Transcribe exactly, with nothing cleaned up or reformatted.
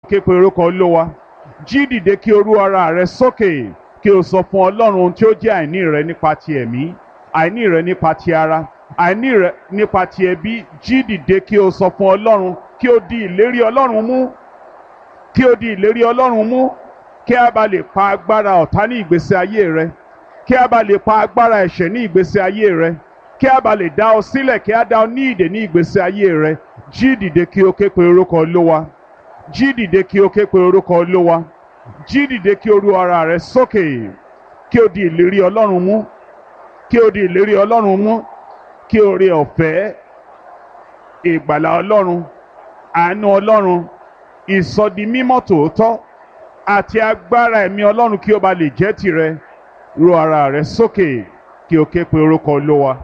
Ké pe orúkọ Olúwa. Jí dìde kí o rú ara rẹ sókè, kí o sọ fún Ọlọ́run ohun tí ó jẹ́ àìní rẹ nípa ti ẹ̀mí, àìní rẹ nípa ti ara, àìní rẹ nípa ti ẹbí. Jí dìde kí o sọ fún Ọlọ́run, kí o di ìlérí Ọlọ́run mú, kí o di ìlérí Ọlọ́run mú, kí a bá lè pa agbára ọ̀tá ní ìgbésí ayé rẹ, kí a bá lè pa agbára ẹ̀ṣẹ̀ ní ìgbésí ayé rẹ, kí a bá lè dá ọ sílẹ̀, kí a dá ọ ní ìdè ní ìgbésí ayé rẹ. Jí dìde kí o ké pe orúkọ Olúwa. Jí dìde kí o ké pe orúkọ Olúwa. Jí dìde kí o rú ara rẹ sókè, kí o di ìlérí Ọlọ́run mú, kí o di ìlérí Ọlọ́run mú, kí oore ọ̀fẹ́ ìgbàlà Ọlọ́run, àánú Ọlọ́run, ìsọdimímọ́ tòótọ́ àti agbára ẹ̀mí Ọlọ́run kí ó ba lè jẹ́ tìrẹ. Rú ara rẹ sókè kí o ké pe orúkọ Olúwa.